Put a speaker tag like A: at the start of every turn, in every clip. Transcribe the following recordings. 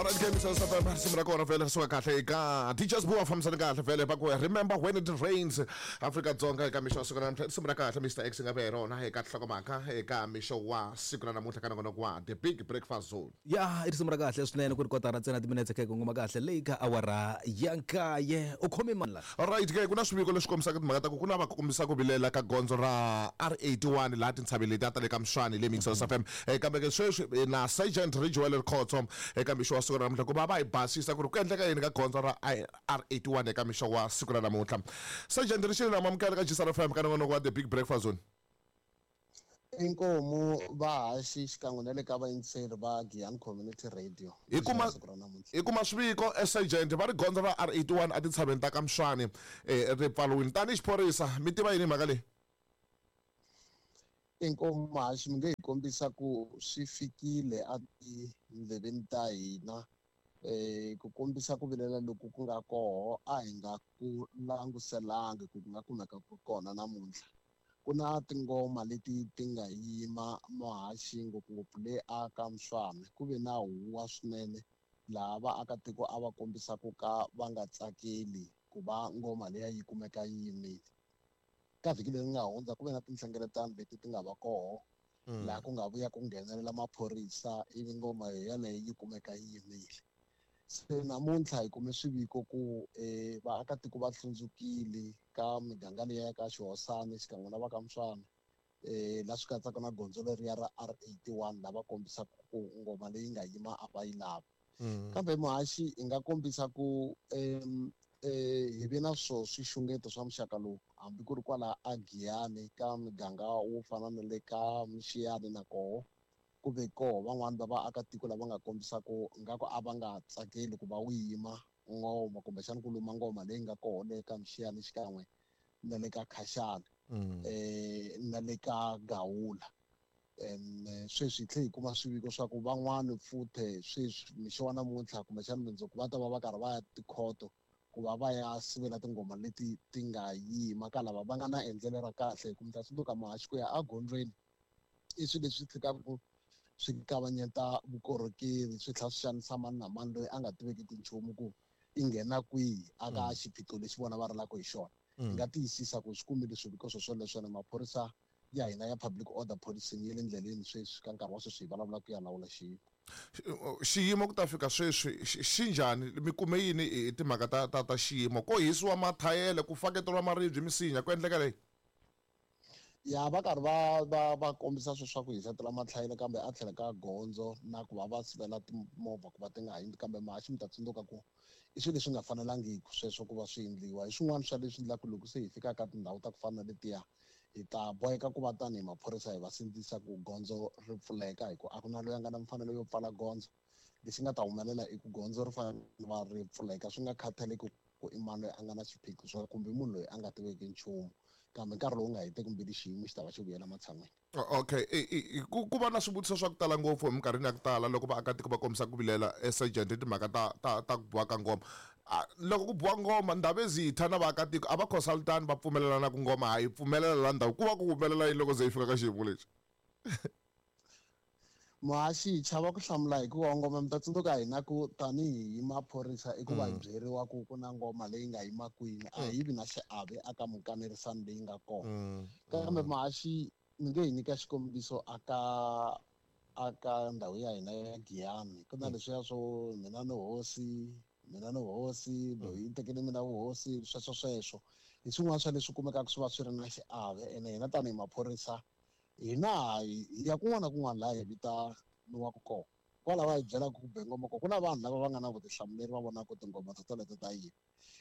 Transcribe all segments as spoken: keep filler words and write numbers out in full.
A: Alright, ke Mister Safa risimu ra kona vhele ri suka kahle eka D J Sbu va fambisana kahle vhele va ku remember when it rains Afrika Dzonga eka mixo wa siku ra namuntlha risimu ra kahle Mister X nga ve hi rona eka nhlokomhaka eka mixo wa siku ra namuntlha ka nongonoko wa The Big Breakfast Zone.
B: Ya i risimu ra kahle swinene ku ri kotara ntsena timinetse kha hi kongoma kahle leyi ka awara ya nkaye u khome mani la.
A: Alright ke ku na swiviko leswi kombisaka timhaka ta ku ku na va kombisa ku vilela ka gondzo ra R eighty-one laha tintshaveni leti a ta le ka Mswani le Mixers F M kambe ke sweswi na Sergeant Ridgewell Khotso eka mixo wa siku ra namuntlha ku va va hi basisa ku ri ku endleka yini ka gondzo ra R eighty-one eka mixo wa siku ra namuntlha. Sergeant Richard na mamukela ka G S R F M ka nongonoko wa The Big Breakfast Zone.
C: Inkomu vahaxi xikan'we na le ka vayingiseri va Giyani Community Radio.
A: Hi kuma hi kuma swiviko Sergeant va ri gondzo ra R eighty-one a tintshaveni ta ka Mswani ri pfaliwile tanihi xiphorisa mi tiva yini mhaka leyi?
C: Inkomu haxi mi nge hi kombisa ku swi fikile a tindleveni ta hina eh ku kombisa ku vilela loku ku nga koho a hi nga ku languselangi ku nga kumeka ku kona namuntlha. Ku na tingoma leti ti nga yima muhaxi ngopfungopfu le aka Mswani ku ve na huwa swinene laha vaakatiko a va kombisa ku ka va nga tsakeli ku va ngoma leyi yi kumeka yi yimile. Ka vhiki leri nga hundza ku ve na tinhlengeletano leti ti nga va koho laha ku nga vuya ku nghenelela maphorisa ivi ngoma yeleyo yi kumeka yi yimile. Se namuntlha hi kume swiviko ku eh vaakatiko va hlundzukile ka miganga leyi ka Xihosana xikan'we na va ka Mswani eh la swi katsaka na gondzo leriya ra R eighty-one lava kombisaka ku ngoma leyi nga yima a va yi lavi. Kambe muhaxi hi nga kombisa ku em eh hi ve na swo swixungeto swa muxaka lowu hambi ku ri kwala a Giyani ka miganga wo fana na le ka Mxiyani na koho ku ve koho van'wani va vaakatiko lava nga kombisa ku nga ku a va nga tsakeli ku va wu yima ngoma kumbexana ku luma ngoma leyi nga koho le ka Mxiyani xikan'we na le ka Khashana eh na le ka Gawula. And sweswi hi tlhe hi kuma swiviko swa ku van'wani futhe sweswi mixo wa namuntlha kumbexana mundzuku va ta va va karhi va ya tikhoto ku va va ya sivela tingoma leti ti nga yima ka lava va nga na endlelo ra kahle hi ku mi ta tsundzuka muhaxi ku ya egondzweni i swilo leswi tshikaka swi kavanyeta vukorhokeri swi tlhela swi xanisa mani na mani loyi a nga tiveki tinchumu ku i nghena kwihi aka xiphiqo lexi vona va rilaka hi xona. Hi nga tiyisisa ku swi kumile swiviko swo swoleswo na maphorisa ya hina ya public order policing ya le ndleleni sweswi ka nkarhi wa sweswi hi vulavula ku ya lawula xiyimo.
A: Xiyimo ku ta fika sweswi xi njhani mi kume yini hi timhaka ta ta ta xiyimo ko hisiwa mathayele ku faketeriwa maribye misinya ku endleka leyi?
C: Ya va karhi va va va kombisa sweswi swa ku hisetela mathayele kambe a tlhela ka gondzo na ku va va sivela timovha ku va ti nga hundzi kambe muhaxi mi ta tsundzuka ku i swilo leswi nga fanelangiki sweswo ku va swi endliwa hi swin'wana swa leswi endlaka loko se hi fika ka tindhawu ta ku fana na letiya hi ta boheka ku va tanihi maphorisa hi va sindzisa ku gondzo ri pfuleka hi ku a ku na loyi a nga na mfanelo yo pfala gondzo. Lexi nga ta humelela i ku gondzo ri fanele va ri pfuleka swi nga khathaleki ku i mani loyi a nga na xiphiqo swa kumbe munhu loyi a nga tiveki nchumu kambe nkarhi lowu nga heteki mbilu xiyimo xi ta va xi vuyela matshan'wini.
A: Okay ku ku va na swivutiso swa ku tala ngopfu eminkarhini ya ku tala loko vaakatiko va kombisa ku vilela Sergeant hi timhaka ta ta ta ku biwa ka ngoma. Loko ku biwa ngoma ndhawu ezitha na vaakatiko a va consultani va pfumelelana ku ngoma ha yi pfumelela la ndhawu ku va ku humelela yini loko ze yi fika ka xiyimo lexi?
C: Muhaxi hi chava ku hlamula hikuva ngoma mi ta tsundzuka hina ku tanihi maphorisa i ku va hi byeriwa ku ku na ngoma leyi nga yima kwini a hi vi na xiave aka minkanerisano leyi nga kona. Kambe muhaxi mi nge hi nyika xikombiso aka aka ndhawu ya hina ya Giyani ku na leswiya swo mina ni hosi mina ni hosi loyi i tekele mina vuhosi sweswo sweswo hi swin'wana swa leswi kumekaka swi va swi ri na xiave ene hina tanihi maphorisa hina hi ya kun'wana na kun'wana laha hi vitaniwaka kona kwala va hi byelaka ku be ngoma kona ku na vanhu lava va nga na vutihlamuleri va vonaka tingoma to toleto ta yima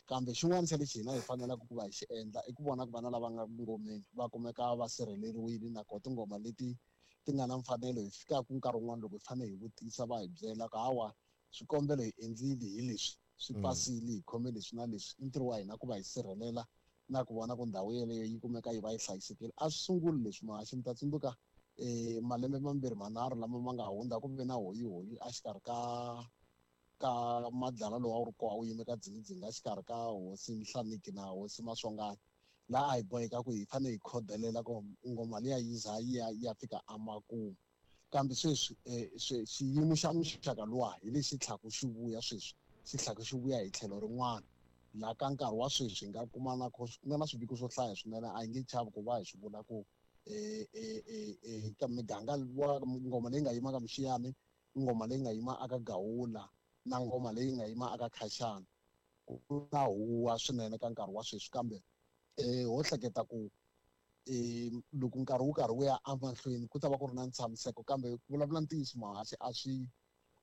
C: kambe xin'wana xa lexi hina hi fanelaka ku va hi xi endla i ku vona ku vana lava nga ngomeni va kumeka va sirheleriwile nakona tingoma leti ti nga na mfanelo hi fikaka nkarhi wun'wana loko hi fanele hi vutisa va hi byela ku hawa swikombelo hi endlile hi leswi swi pasile hi khome leswi na leswi i ntirho wa hina ku va hi sirhelela na ku vona ku ndhawu yeleyo yi kumeka yi va yi hlayisekile. A swi sunguli leswi muhaxi mi ta tsundzuka eh malembe mambirhi manharhu lama ma nga hundza ku ve na hoyihoyi exikarhi ka ka madlala lowu a wu ri koho a wu yime ka dzingidzingi exikarhi ka hosi Nhlaniki na hosi Maswanganyi laha a hi boheka ku hi fanele hi khodelela ku ngoma liya yi za yi ya yi ya fika emakumu. Kambe sweswi xiyimo xa muxaka luwa hi lexi tlhaku xi vuya sweswi xi tlhaku xi vuya hi tlhelo rin'wana laha ka nkarhi wa sweswi hi nga kuma na ku nga na swiviko swo hlaya swinene a hi nge chavi ku va hi swi vula ku ka miganga wa ngoma leyi nga yima ka Mxiyani, ngoma leyi nga yima aka Gawula na ngoma leyi nga yima aka Khashana ku na huwa swinene ka nkarhi wa sweswi. Kambe ho hleketa ku loko nkarhi wu karhi wu ya emahlweni ku ta va ku ri na ntshamiseko. Kambe ku vulavula ntiyiso mahaxi a swi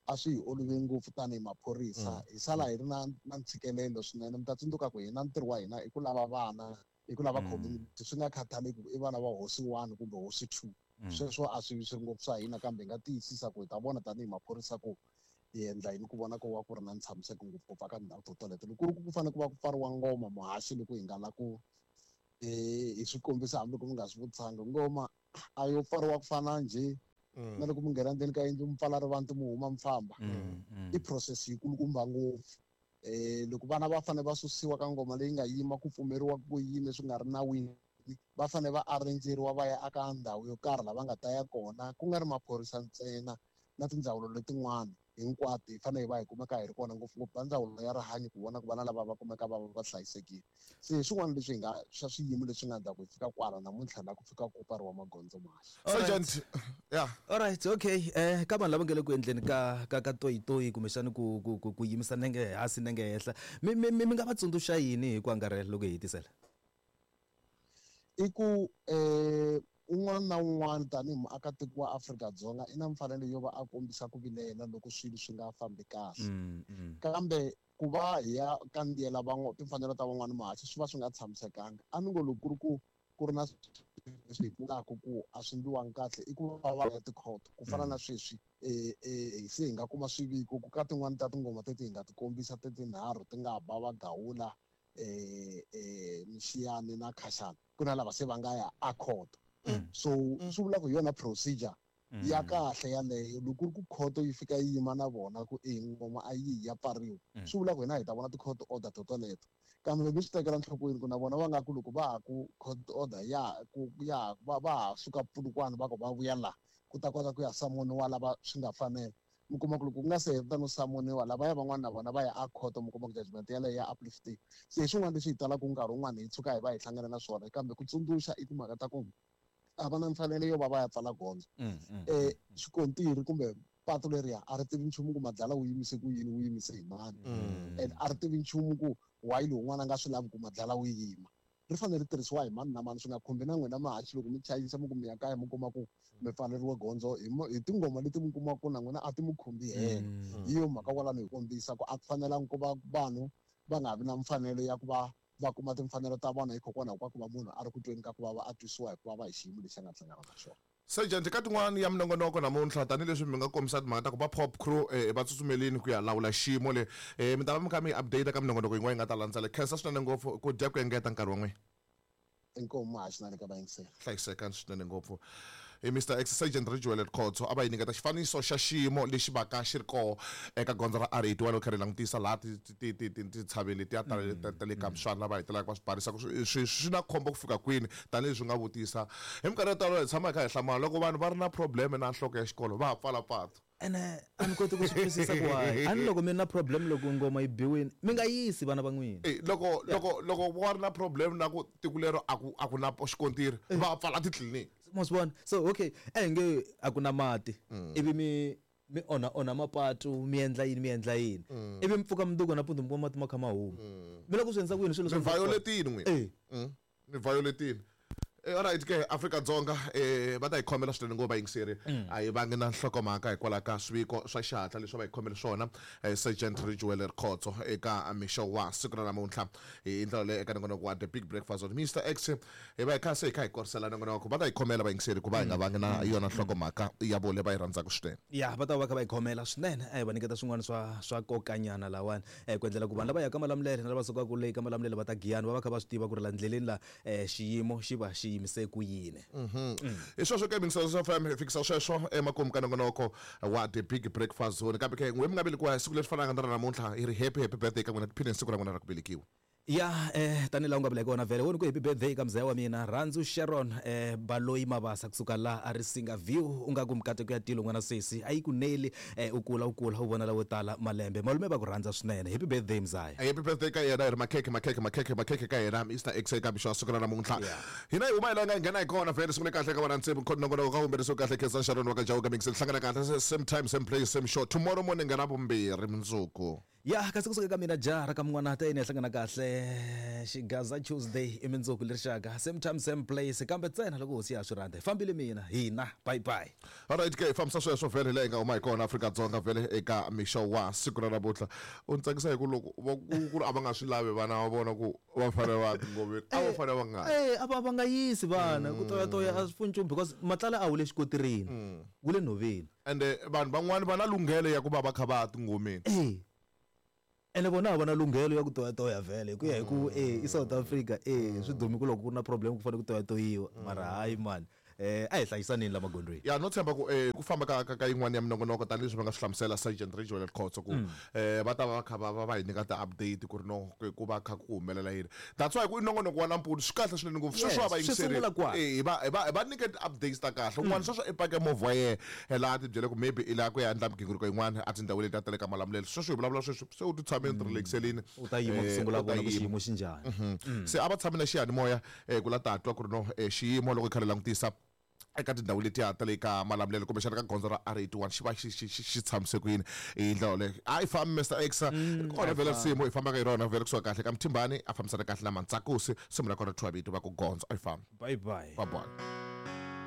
C: a swi hi olovi ngopfu tanihi maphorisa, hi sala hi ri na na ntshikelelo swinene. Mi ta tsundzuka ku hina ntirho wa hina i ku lava vana, i ku lava community, swi nga khathaleki ku i vana va hosi one kumbe hosi two, sweswo a swi swi ngopfu swa hina. Kambe hi nga tiyisisa ku hi ta vona tanihi maphorisa ku hi endla yini ku vona ku va ku ri na ntshamiseko ngopfungopfu aka tindhawu to toleto. Loko ku ri ku ku fanele ku va ku pfariwa ngoma muhaxi loko hi nga la ku hi swi kombisa hambiloko mi nga swi vutisanga, ngoma a yo pfariwa ku fana njhe na loko mi nghena ndzeni ka yindlu mi pfala rivanti mi huma mi famba, i process yikulukumba ngopfu. Loko vana va fanele va susiwa ka ngoma leyi nga yima ku pfumeriwa ku yime swi nga ri nawini, va fanele va arrangeriwa va ya aka ndhawu yo karhi laha va nga ta ya kona, ku nga ri maphorisa ntsena na tindzawulo letin'wana hinkwato hi fanele hi va hi kumeka hi ri kona, ngopfungopfu va ndzawulo ya rihanyo ku vona ku vana lava va kumeka va va va hlayisekile. Se hi swin'wana leswi hi nga swa swiyimo leswi nga ndzhaku hi fika kwala namuntlha laha ku fika ku pfariwa magondzo maxa.
A: Sergeant, yeah.
B: All right, okay. Eh ka vanhu lava nga le ku endleni ka ka ka toyitoyi kumbexani ku ku ku yimisa nenge hansi nenge henhla, mi mi mi nga va tsundzuxa yini hi ku angarhela loko hi hetisela?
C: I ku eh un'wana na un'wana tanihi muakatiko wa Afrika-Dzonga i na mfanelo yo va a kombisa ku vilela loko swilo swi nga fambi kahle. Kambe ku va hi ya kandziyela van'wana timfanelo ta van'wana mahaxi swi va swi nga tshamisekanga. A ni ngo loko ku ri ku ku ri na leswi hi vulaka ku a swi endliwangi kahle i ku va va ya tikhoto ku fana na sweswi se hi nga kuma swiviko ku ka tin'wani ta tingoma teti hi nga ti kombisa ti tinharhu ti nga ba va Gawula, Mxiyani na Khashana, ku na lava se va nga ya a khoto. So swi vula ku hi yona procedure ya kahle yaleyo. Loko ku ri ku khoto yi fika yi yima na vona ku e ngoma a yi ya pfariwa, swi vula ku hina hi ta vona ti-court order to toleto. Kambe mi swi tekela enhlokweni ku na vona va nga ku loko va ha ku court order ya ku ya va va ha suka Polokwane va ku va vuya laha ku ta kota ku ya samoniwa lava swi nga fanela, mi kuma ku loko ku nga se heta no samoniwa lavaya van'wana na vona va ya a khoto, mi kuma ku judgment yaleyo ya uplifting. Se hi swin'wana leswi hi talaka nkarhi wun'wana hi tshuka hi va hi hlangana na swona. Kambe ku tsundzuxa i timhaka ta ku a va na mfanelo yo va va ya pfala gondzo. Xikontiri kumbe patu leriya a ri tivi nchumu ku madlala wu yimise ku yini, wu yimise hi mani, and a ri tivi nchumu ku why lowun'wana a nga swi lavi ku madlala wu yima. Ri fanele ri tirhisiwa hi mani na mani, swi nga khumbi na n'wina mahaxi loko mi chayisa mi ku mi ya kaya mi kuma ku mi pfaleriwe gondzo hi hi tingoma leti mi kumaka ku na n'wina a ti mi khumbi helo. Hi yo mhaka kwalano hi kombisa ku a ku fanelangi ku va vanhu va nga vi na mfanelo ya ku va va kuma timfanelo ta vona hikokwalaho ka ku va munhu a ri ku tweni ka ku vava a twisiwa hi ku vava hi xiyimo lexi a nga hlangana na xona.
A: Sergeant, ka tin'wani ya minongonoko namuntlha tanihileswi mi nga kombisa timhaka ta ku va pop crew va tsutsumelini ku ya lawula xiyimo le, mi ta va mi kha mi update ka minongonoko yin'wana yi nga ta landzela. Khensa swinene ngopfu ku dya ku engeta nkarhi wa n'wina.
C: Inkomu mahaxi na le ka vayingiseri.
A: Hlayisekani swinene ngopfu. Hi Mister X Sergeant Ridgewell Khotso a va yi nyiketa xifaniso xa xiyimo lexi vaka xi ri koho eka gondzo ra R eighty-one loko kha ri langutisa laha tintshaveni letiya ta ta le ka Mswana lava hetelelaka va swi barisa ku swi swi na khombo ku fika kwini tanihileswi nga vutisa. Hi minkarhi yo tala hi tshama hi kha hi hlamala loko vanhu va ri na problem na nhloko ya xikolo va ha pfala patu.
B: Ene a ni koti ku swi twisisa ku why a ni loko mi ri na problem loko ngoma yi biwini mi nga yisi vana va n'wina.
A: Loko loko loko va ri na problem na ku tiko lero a ku a ku na xikontiri va pfala titliliniki.
B: Ma swi vona? So okay, a hi nge a ku na mati ivi mi mi onha onha mapatu mi endla yini mi endla yini ivi mi pfuka mundzuku nampundzu mi kuma mati ma kha ma huma, mi lava ku swi endlisa ku yini swilo
A: swa mi violetini n'wina? Mi violetini. Alright ke Afrika-Dzonga eh va ta hi khomela swinene ngopfu vayingiseri, a hi vangi na nhlokomhaka hikwalaho ka swiviko swa xihatla leswi va hi khomele swona Sergeant Ridgewell Khotso eka mixo wa siku ra namuntlha hi ndlela leyi eka nongonoko wa The Big Breakfast with Mister X. Hi va hi kha se hi kha hi korisela nongonoko, va ta hi khomela vayingiseri ku va hi nga vangi na yona nhlokomhaka ya vona va yi rhandzaka swinene.
B: Ya va ta va kha va hi khomela swinene, a hi va nyiketa swin'wana swa swa kokanyana lawani ku endlela ku vanhu lava yaka Malamulele na lava sukaka le ka Malamulele va ta Giyani va va kha va swi tiva ku ri la ndleleni la xiyimo xi va xi yimise ku yini.
A: Hi sweswo ke Mixo F M hi fikisa sweswo emakumu ka nongonoko wa The Big Breakfast Zone. Kambe ke n'we mi nga velekiwa hi siku leri fanaka na ra namuntlha hi ri happy happy birthday ka n'wina, tiphine siku ra n'wina ra ku velekiwa.
B: Ya eh tanihi laha u nga vula hi kona vhele woni ku happy birthday ka mzaya wa mina Rhandzu Sharon eh Baloyi Mabasa kusuka laha a ri Singa View u nga ku mikateko ya tilo n'wana sesi a yi ku neli eh u kula u kula u vona lawo tala malembe malume va ku rhandza swinene happy birthday mzaya.
A: Happy birthday ka yena hi ri makhekhe makhekhe makhekhe makhekhe ka yena Mister X eka mixo wa siku ra namuntlha.
B: Yeah.
A: Hina hi huma hi laha hi nga nghena hi kona vhele sungule kahle ka vana ntsebo nongonoko ka humelerisiwe kahle Khensa Sharon wa ka Jawuka Mix hlangana kahle same time same place same show tomorrow morning ra vumbirhi mundzuku.
B: Ya kasi kusuka ka mina jaha ka mun'wana ta yini hi hlangana kahle Xigaza Tuesday i mindzuku lerixaka same time same place kambe ntsena loko hosi ya swi rhandza hi fambile mina hina bye bye.
A: Alright ke hi fambisa sweswo vhele laha hi nga huma hi kona Afrika-Dzonga vhele eka mixo wa siku ra namuntlha u ni tsakisa hi ku loko va ku ku ri a va nga swi lavi vana va vona ku va fanele va ya tingomeni a va fanele va nga
B: Eh a va va nga yisi vana ku toyatoya a swi pfuni nchumu because matlala a wu le xikotirini wu le nhoveni
A: ende vanhu van'wani va na lunghelo ya ku va va kha va ya tingomeni.
B: Eh ene vona a va na lunghelo ya ku toyatoya vhele hi ku ya hi ku eh i South Africa eh swi dumi ku loko ku ri na problem ku fanele ku toyatoyiwa mara hayi man eh a hi hlayisaneni la magondzweni.
A: Ya no tshemba ku eh ku famba ka ka ka yin'wana ya minongonoko tanihileswi va nga swi hlamusela Sergeant Ridgewell Khotso ku eh va ta va va kha va va va hi nyika ti-update ku ri no ku ku va kha ku humelela yini that's why ku i nongonoko wa nampundzu swi kahle swinene ngopfu sweswi wa va
B: Yes, swi
A: yingiserile
B: sungula kwala.
A: Eh, hi va hi va hi va nyike ti-updates ta kahle un'wana sweswo i pake movha wa yena eh, laha a ti byele ku maybe i lava ku ya endla migingiriko yin'wana a tindhawini leti a ta le ka Malamulele sweswi hi vulavula sweswi se u ti tshameni ti relaxelini
B: U ta yima ku
A: eh,
B: sungula
A: u ta
B: vona ku
A: yima.
B: xiyimo xi njhani.
A: Se a va tshami na xiyanimoya eh, ku la ta twa ku ri no eh, xiyimo loko hi kha hi langutisa eka tindhawu letiya ta le ka Malamulele kumbexana ka gondzo ra R eighty-one xi va xi xi xi xi tshamise ku yini hi ndlela yoleyo a yi fambi Mister X ri kona vhele risimu hi fambaka hi rona vhele kusuka kahle ka Mthimbani a fambisana kahle na Mantsakusi simu ra kona thwavito va ku gondzo a yi fambi
B: Bye bye.
A: bye bye.